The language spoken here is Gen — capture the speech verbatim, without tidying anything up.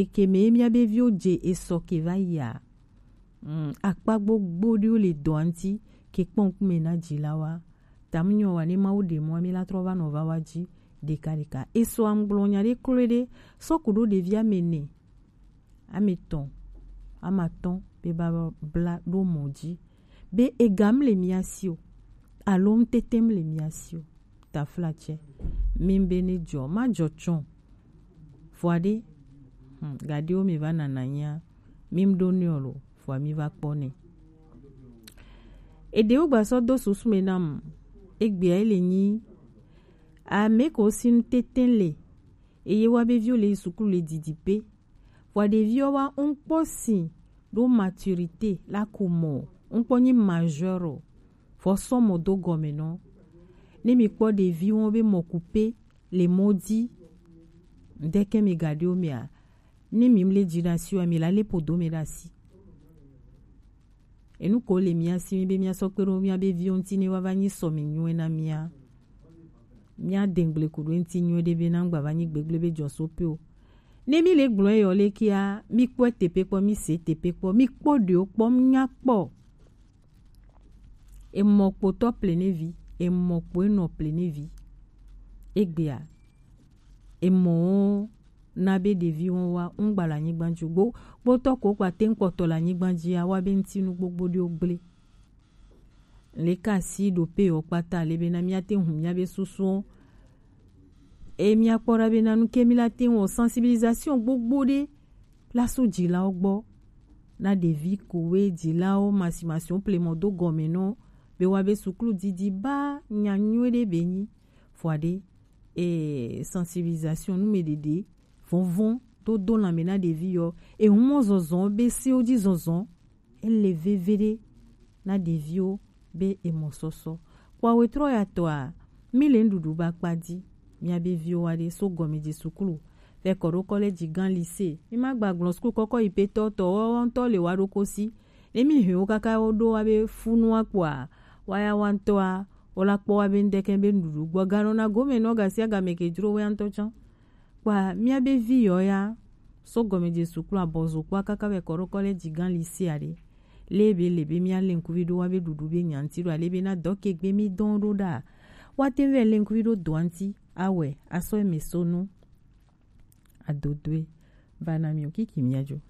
Eke me mia be viwo je eso ke va yi a. Mm, akpa gbogbo ɖewo le dɔa ŋuti ke kpɔ ŋkume na dzilawoa. Ta mu nyɔ wa ne Mawu ɖe mɔ mi la trɔ va nɔ va wa dzi ɖeka ɖeka. Eso amgblɔ nya ɖe kloe ɖe sɔ ku ɖo ɖevi ame ene, ame etɔ̃, ame atɔ̃ be ba bla ɖo mɔ dzi be ega mle mia si o alo ŋtete mle mia si o. Taflatsɛ, mi be ne dzɔ ma dzɔ tsɔ. Vɔa ɖe, hmm, gaɖewo mi va nana nya mi ɖo ne ɔlo, vɔa mi va kpɔ ne. Eɖewo gba sɔ do susu me nam. Egbea ele nyi ame ko si ŋtete le eye wa be viwo le yi sukulu le didi pe. Vɔa ɖeviwo wa ŋkpɔ si ɖo maturité la ku mɔ, ŋkpɔ nyi majeur o, vɔ sɔ mɔ do gɔme nɔ. Ne mi kpɔ ɖevi wɔn be mɔ ku pe le mɔ dzi, ŋdeke mi gaɖewo mea, ne mi mle dzi ɖe asi wa mi la le podo me ɖe asi. Enu ko le mia si mi be mia sɔ kpe ɖo mia be viwo ŋuti ne wa va nyi sɔ mi nyuie na mia. Mia dengble ku ɖo ŋuti nyuie ɖe be na ŋgba va nyi gbegble be dzɔ so pe o. Ne mi le gblɔ eyɔ le kia, mi kpɔe tepe kpɔ, mi se tepe kpɔ, mi kpɔ ɖewo kpɔ, mi nya kpɔ. Emɔ kpotɔ plenevi, emɔ kpo enɔ plenevi. Egbea, emɔ wo na be ɖevi wo wa ŋgba le anyigba dzi o. Gbo-, kpotɔ ko kpa te ŋkpɔtɔ le anyigba dzi a, wa be ŋutinu gbogbo ɖewo gble. Le ka si ɖo pe yewo kpata le be na mia te ŋu mia be susuwo. E mia kpɔ ɖa be na nu ke mi la te ŋu sensibilisation gbogbo ɖe la so dzilawo gbɔ. Na ɖevi kowe dzilawo masimasiwo plemɔ do gɔme nɔ be wa be suklu didi ba nya nyuie ɖe be nyi. Vɔa ɖe, e, sensibilisation nu me ɖeɖe vɔnvɔn do do lanme na ɖevi yɔ. Ehu mɔ zɔzɔ be sewo dzi zɔzɔ. Ele veve ɖe na ɖeviwo be emɔ sɔsɔ. Kpɔ wetrɔ ya tɔa, mi le nuɖuɖu ba kpa di. Mia be viwo wa ɖe so gɔme dzi suklu. Fɛ kɔ ɖo kɔlɛdzi gã lycée. Mi ma gba gblɔ suklu kɔkɔ yi petɔ tɔ wɔ ŋutɔ le wa ɖo kosi. Ne mi hɛn wo kaka wo ɖo wa be funu wa kpɔa, wa ya wa ŋutɔa, wo la kpɔ wa be ŋdɛkɛ be nuɖuɖu gbɔ ganɔ na gome nɔ gasi agame ke dzro wa ŋutɔ tsã. Kpa mia be vi yɔ ya so gɔme dzi suklu abɔzo kpɔ kaka wɛ kɔ ɖo kɔlɛdzi gã lycée aɖe. Le be le be mia le ŋkuvi ɖo wa be ɖuɖu be nyanti ɖo ale be na dɔ ke gbe mi dɔn ɖo ɖa. Wa te wɛ le ŋkuvi ɖo dɔ ŋuti awɛ asɔ eme so nu. Adodoe. Ba na mi o kiki mia dzo.